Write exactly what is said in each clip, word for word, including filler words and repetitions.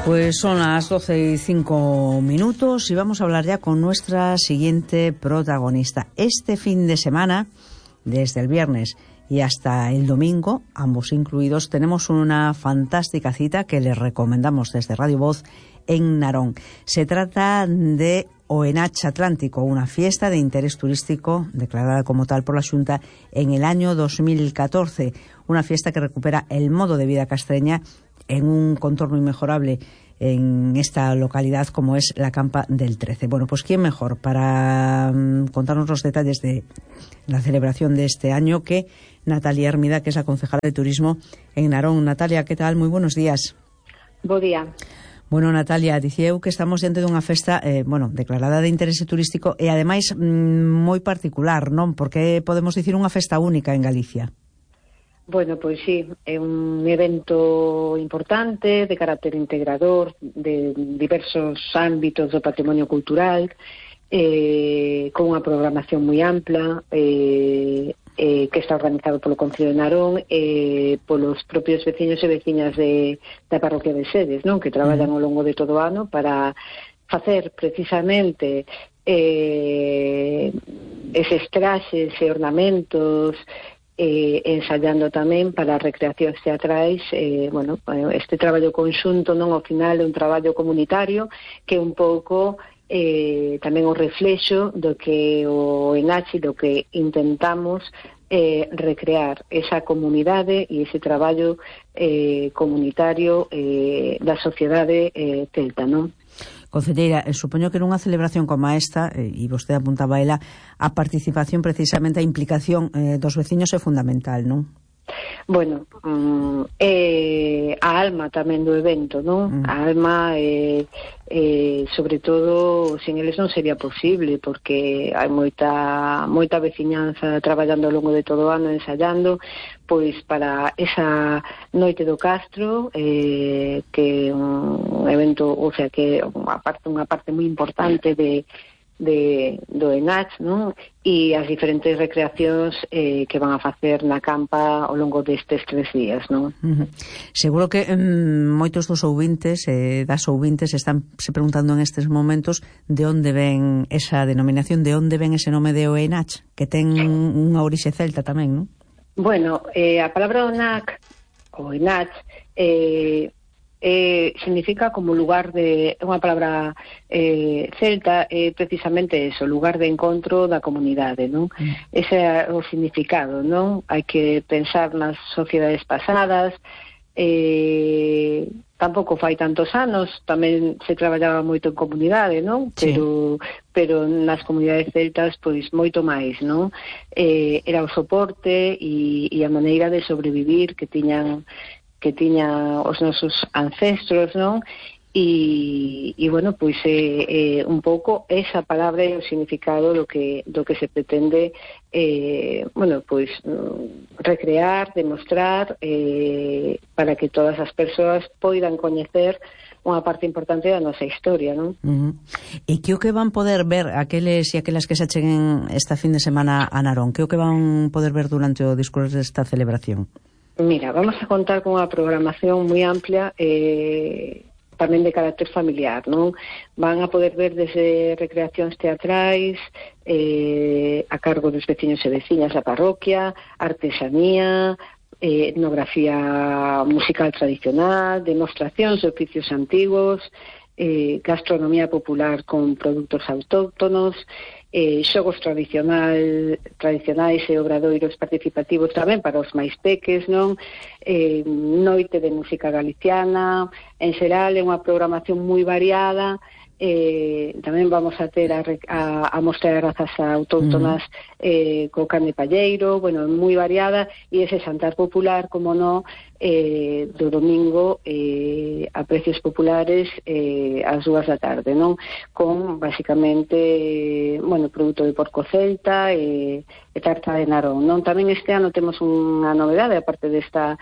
Pues son las doce y cinco minutos y vamos a hablar ya con nuestra siguiente protagonista. Este fin de semana, desde el viernes y hasta el domingo, ambos incluidos, tenemos una fantástica cita que les recomendamos desde Radio Voz en Narón. Se trata de Oenach Atlántico, una fiesta de interés turístico declarada como tal por la Xunta en el año dos mil catorce. Una fiesta que recupera el modo de vida castreña en un contorno inmejorable en esta localidad como es la Campa del trece. Bueno, pues ¿quién mejor para um, contarnos los detalles de la celebración de este año que Natalia Hermida, que es la concejala de Turismo en Narón? Natalia, ¿qué tal? Muy buenos días. Bo día. Bueno, Natalia, dicía eu que estamos diante dunha festa, eh, bueno, declarada de interese turístico e ademais mm, moi particular, non? Porque podemos dicir unha festa única en Galicia. Bueno, pois sí, é un evento importante de carácter integrador de diversos ámbitos do patrimonio cultural, eh, con unha programación moi ampla, eh, eh, que está organizado polo Concello de Narón e eh, polos propios veciños e veciñas de, da parroquia de Sedes, non? Que traballan ao longo de todo o ano para facer precisamente eh, eses traxes e ornamentos, Eh, ensayando tamén para recreacións teatrais. eh, bueno, este traballo conxunto non ao final é un traballo comunitario que é un pouco eh, tamén o reflexo do que o Enachi, do que intentamos eh, recrear esa comunidade e ese traballo eh, comunitario eh, da sociedade eh, celta, non? Concelleira, eh, supoño que nunha celebración como esta, eh, e vostede apuntaba ela, a participación, precisamente a implicación eh, dos veciños é fundamental, non? Bueno, um, é a alma tamén do evento, non? Mm. A alma, eh, eh, sobre todo, sin eles non sería posible, porque hai moita moita veciñanza traballando ao longo de todo o ano, ensayando, pois para esa noite do Castro, eh, que é un evento, o sea, que é unha parte, unha parte moi importante de de do Enach, non? E as diferentes recreacións eh, que van a facer na campa ao longo destes tres días, non? Uh-huh. Seguro que um, moitos dos ouvintes eh, das ouvintes están se preguntando en estes momentos de onde ven esa denominación, de onde ven ese nome de Oenach, que ten unha orixe celta tamén, non? Bueno, eh, a palabra Oenach, o Enach, eh, Eh, significa como lugar de, unha palabra eh, celta, é eh, precisamente eso, lugar de encontro da comunidade, non? Mm. Ese é o significado, non? Hai que pensar nas sociedades pasadas, eh, tampouco fai tantos anos, tamén se traballaba moito en comunidade, non? Sí. Pero, pero nas comunidades celtas, pois, moito máis, non? Eh, era o soporte e, e a maneira de sobrevivir que tiñan que tiña os nosos ancestros, non? E, e bueno, pois é, é un pouco esa palabra e o significado do que do que se pretende eh, bueno, pois recrear, demostrar eh, para que todas as persoas poidan coñecer unha parte importante da nosa historia, non? Uh-huh. E que o que van poder ver aqueles e aquelas que se acheguen esta fin de semana a Narón? Que o que van poder ver durante o discurso desta celebración? Mira, vamos a contar con unha programación moi amplia, eh, tamén de carácter familiar, non? Van a poder ver desde recreacións teatrais, eh, a cargo dos veciños e veciñas da parroquia, artesanía, eh, etnografía musical tradicional, demostracións de oficios antigos, eh, gastronomía popular con produtos autóctonos, eh, xogos tradicional, tradicionais e obradoiros participativos tamén para os máis peques, non? Eh, noite de música galiciana, en xeral é unha programación moi variada. Eh, tamén vamos a ter a, a, a mostra de razas autóctonas eh, co carne palleiro, bueno, moi variada, e ese xantar popular, como no, eh, do domingo eh, a precios populares eh, ás dúas da tarde, non? Con, basicamente, eh, bueno, produto de porco celta e, e tarta de Narón, non? Tamén este ano temos unha novedade, aparte desta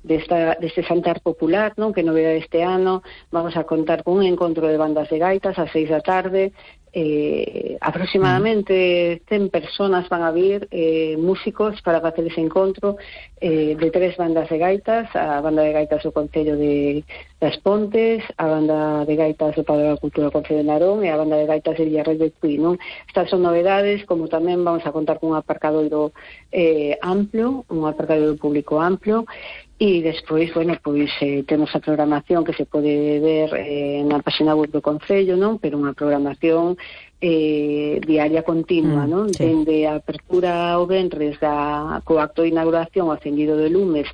desta, deste xantar popular, non? Que novedade este ano, vamos a contar con un encontro de bandas de gaitas ás seis da tarde, eh, aproximadamente cen personas van a vir, eh, músicos para facer ese encontro, eh, de tres bandas de gaitas, a banda de gaitas do Concello de, de das Pontes, a banda de gaitas do Padrón da Cultura do Concello de Narón e a banda de gaitas de Villarreal de Tui, non? Estas son novedades, como tamén vamos a contar con un aparcadoiro eh, amplio, un aparcadoiro público amplio, e despois, bueno, pois eh, temos a programación que se pode ver eh, na página web do Concello, non? Pero unha programación eh, diaria continua, mm, non? Sí. Dende a apertura ao venres da, co acto de inauguración ao acendido de lumes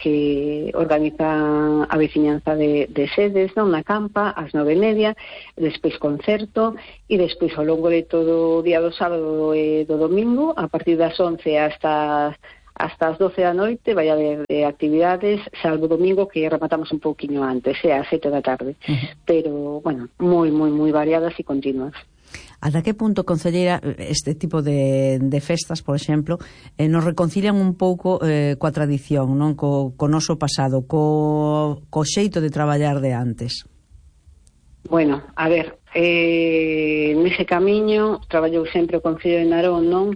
que organizan a veciñanza de, de sedes, non? Na Campa, ás nove e media, despois concerto, e despois ao longo de todo o día do sábado e do domingo, a partir das once hasta hasta as doce da noite vai haber eh, actividades, salvo domingo que rematamos un pouquiño antes, é ás sete da tarde. Uh-huh. Pero, bueno, moi, moi, moi variadas e continuas. Ata que punto, concelleira, este tipo de, de festas, por exemplo, eh, nos reconcilian un pouco eh, coa tradición, non? Co, co noso pasado, co, co xeito de traballar de antes? Bueno, a ver, eh, nese camiño traballou sempre o Concello de Narón, non?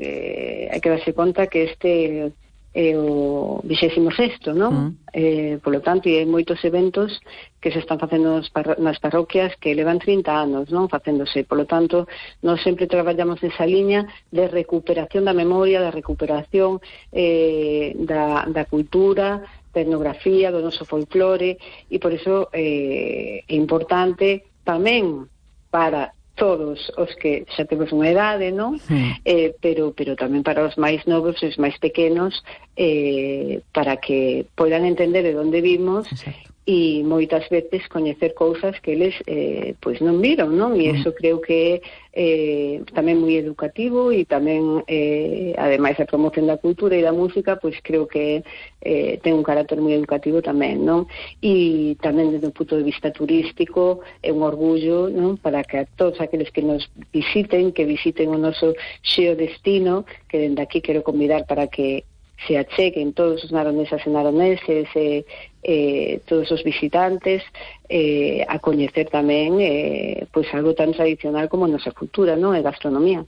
Eh, hai que darse conta que este é o vixésimo sexto, non? Mm. Eh, polo tanto, e hai moitos eventos que se están facendo nas, parro nas parroquias que levan trinta anos, non? Facéndose, polo tanto, nós sempre traballamos nesa liña de recuperación da memoria, da recuperación eh, da, da cultura, da etnografía, do noso folclore, e por iso eh, é importante tamén para todos os que xa temos unha idade, non? Sí. Eh, pero pero tamén para os máis novos e os máis pequenos, eh, para que poidan entender de onde vimos. Exacto. E moitas veces coñecer cousas que eles eh, pois non viron, non? E iso creo que é eh, tamén moi educativo, e tamén eh, ademais da promoción da cultura e da música, pois creo que eh, ten un carácter moi educativo tamén, non? E tamén desde o punto de vista turístico é un orgullo, non? Para que a todos aqueles que nos visiten, que visiten o noso xeo destino, que dende aquí quero convidar para que se acheguen todos os naronesas e naroneses e eh, todos os visitantes eh, a coñecer tamén eh, pois algo tan tradicional como a nosa cultura, non? E gastronomía.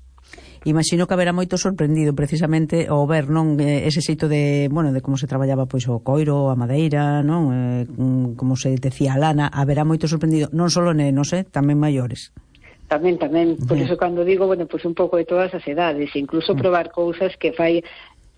Imagino que haberá moito sorprendido precisamente ao ver, non, ese xeito de, bueno, de como se traballaba pois o coiro, a madeira, non, eh, como se decía a lana, haberá moito sorprendido, non só nenos, eh, tamén maiores. Tamén, tamén, por iso cando digo, bueno, pois un pouco de todas as edades, incluso probar cousas que fai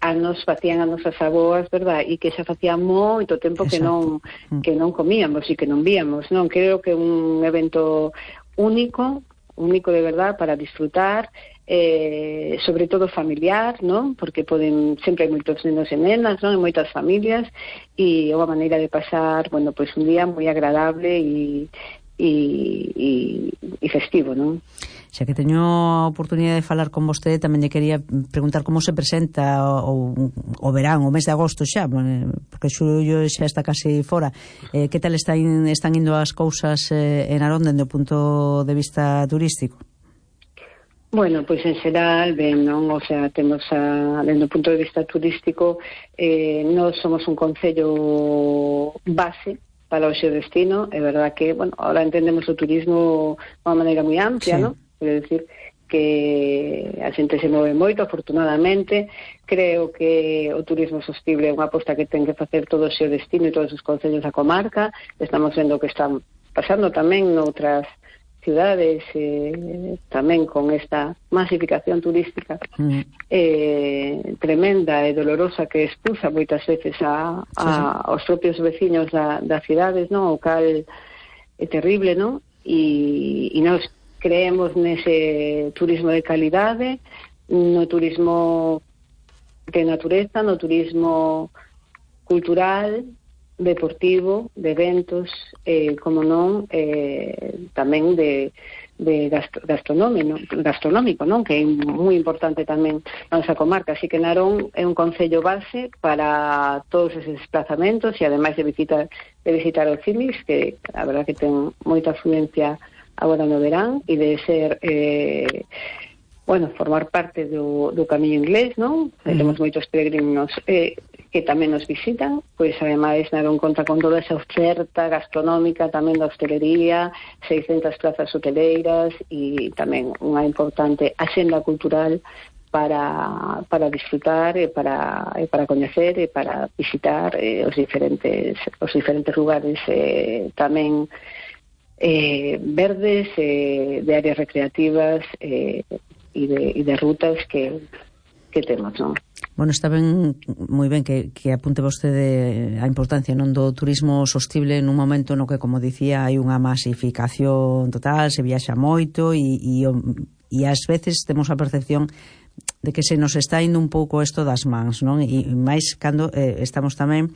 anos facían as nosas aboas, verdad? E que xa facía moito tempo que non que non comíamos e que non víamos, non? Creo que é un evento único, único de verdad para disfrutar, eh, sobre todo familiar, non? Porque poden, sempre hai moitos nenos e nenas, non? E moitas familias, e é unha maneira de pasar, bueno, pois un día moi agradable e e, e, e festivo, non? Xa que teño a oportunidade de falar con vostede, tamén lle quería preguntar como se presenta o, o verán, o mes de agosto xa, porque xullo xa está casi fora. Eh, que tal están, están indo as cousas eh, en Narón dende o punto de vista turístico? Bueno, pois en xeral, ben, non? O sea, temos a, dende o punto de vista turístico, eh, nós somos un concello base para o xeo destino. É verdad que, bueno, ahora entendemos o turismo de unha maneira moi amplia, sí, non? Quero dicir que a xente se move moito, afortunadamente. Creo que o turismo sostible é unha aposta que ten que facer todo o xeo destino e todos os concellos da comarca. Estamos vendo que están pasando tamén noutras ciudades, eh, tamén con esta masificación turística mm. eh, tremenda e dolorosa que expulsa moitas veces a, a, sí, sí. aos propios veciños da, das cidades, non? O cal é terrible, non? E, e nós creemos nese turismo de calidade, no turismo de natureza, no turismo cultural, deportivo, de eventos, eh, como non, eh, tamén de, de gastro, gastronómico, gastronómico, non? Que é moi importante tamén na nosa comarca. Así que Narón é un concello base para todos eses desplazamentos, e ademais de visitar, de visitar os cimis, que a verdad que ten moita afluencia agora no verán, e de ser eh, bueno, formar parte do, do camiño inglés, non? Mm. Temos moitos peregrinos eh, que tamén nos visitan, pois ademais Narón conta con toda esa oferta gastronómica, tamén da hostelería, seiscentas plazas hoteleiras, e tamén unha importante axenda cultural para, para disfrutar e para, e para coñecer e para visitar eh, os diferentes os diferentes lugares eh, tamén eh, verdes, eh, de áreas recreativas eh, e, de, e de rutas que, que temos, non? Bueno, está ben, moi ben que, que apunte vostede a importancia non do turismo sostible nun momento no que, como dicía, hai unha masificación total, se viaxa moito e, e, e ás veces temos a percepción de que se nos está indo un pouco isto das mans, non? E máis cando eh, estamos tamén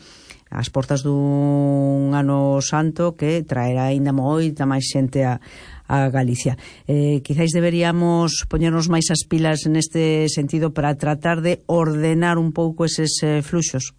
ás portas dun ano santo que traerá aínda moita máis xente a, a Galicia. Eh, quizáis deberíamos poñernos máis as pilas neste sentido para tratar de ordenar un pouco eses eh, fluxos.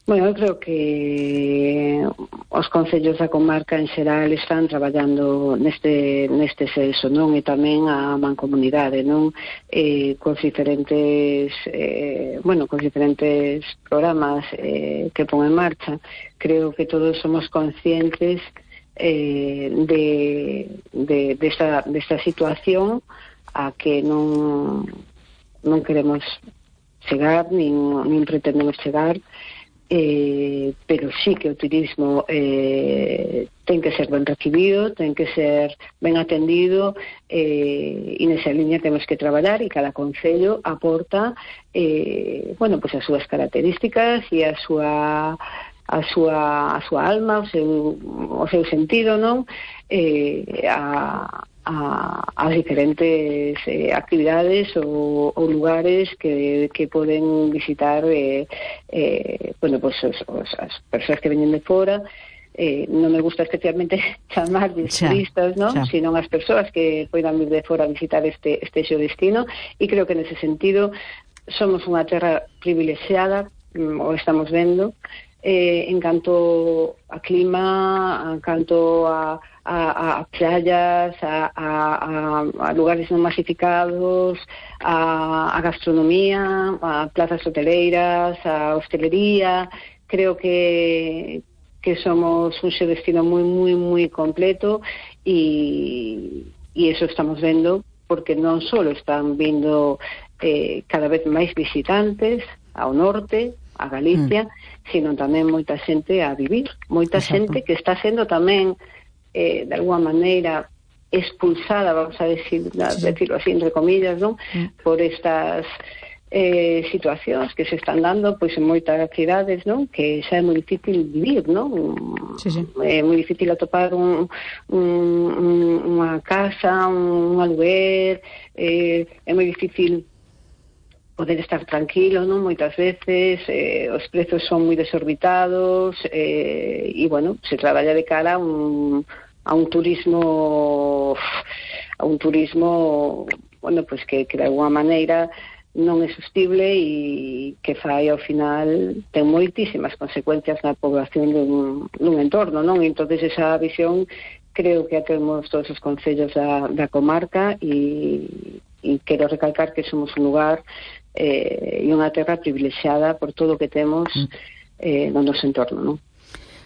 Bueno, eu creo que os concellos da comarca en xeral están traballando neste neste senso, non? E tamén a mancomunidade, non? Eh, cos diferentes eh, bueno, cos diferentes programas eh, que pon en marcha. Creo que todos somos conscientes eh, de, de desta, desta situación a que non non queremos chegar, nin, nin pretendemos chegar. Eh, pero sí que o turismo eh, ten que ser ben recibido, ten que ser ben atendido, eh, e nesa liña temos que traballar, e cada concello aporta eh, bueno, pues as súas características e a súa a súa, a súa alma, o seu, o seu sentido, non? Eh, a A, as diferentes eh, actividades ou, ou lugares que, que poden visitar eh, eh, bueno, pues os, os, as persoas que veñen de fora. Eh, non me gusta especialmente chamar de turistas, non? Sino as persoas que poidan vir de fora a visitar este, este xo destino, e creo que nese sentido somos unha terra privilexiada, o estamos vendo, eh, en canto a clima, en canto a A, a playas, a, a, a lugares non masificados, a, a gastronomía, a plazas hoteleiras, a hostelería. Creo que que somos un xo destino moi, moi, moi completo, e, e eso estamos vendo, porque non só están vindo eh, cada vez máis visitantes ao norte, a Galicia, mm. sino tamén moita xente a vivir, moita Exacto. xente que está sendo tamén Eh, de alguma maneira expulsada, vamos a decir, sí. decirlo así, entre comillas, ¿no? Sí. Por estas eh, situacións que se están dando pois en moitas cidades, ¿no? Que xa é moi difícil vivir, ¿no? Sí, sí. É moi difícil atopar un, un, un, unha casa, un, un aluguer, eh, é moi difícil poder estar tranquilo, non? Moitas veces eh, os prezos son moi desorbitados, eh, e, bueno, se traballa de cara a un, a un turismo a un turismo, bueno, pues que, que de alguma maneira non é sostible e que fai ao final ten moitísimas consecuencias na población dun, dun entorno, non? E entonces esa visión creo que a temos todos os concellos da, da comarca, e, e quero recalcar que somos un lugar eh, e unha terra privilexiada por todo o que temos eh, no noso entorno, non?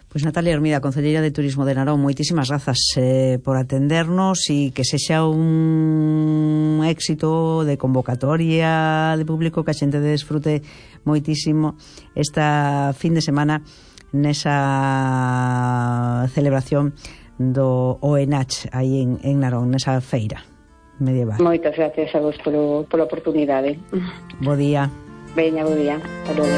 Pois Natalia Hermida, concelleira de Turismo de Narón, moitísimas grazas eh, por atendernos, e que sexa un éxito de convocatoria de público, que a xente desfrute moitísimo esta fin de semana nesa celebración do O E N A C aí en, en Narón, nesa feira medieval. Moitas gracias a vos polo, pola oportunidade. Bo día. Veña, bo día. Hasta logo.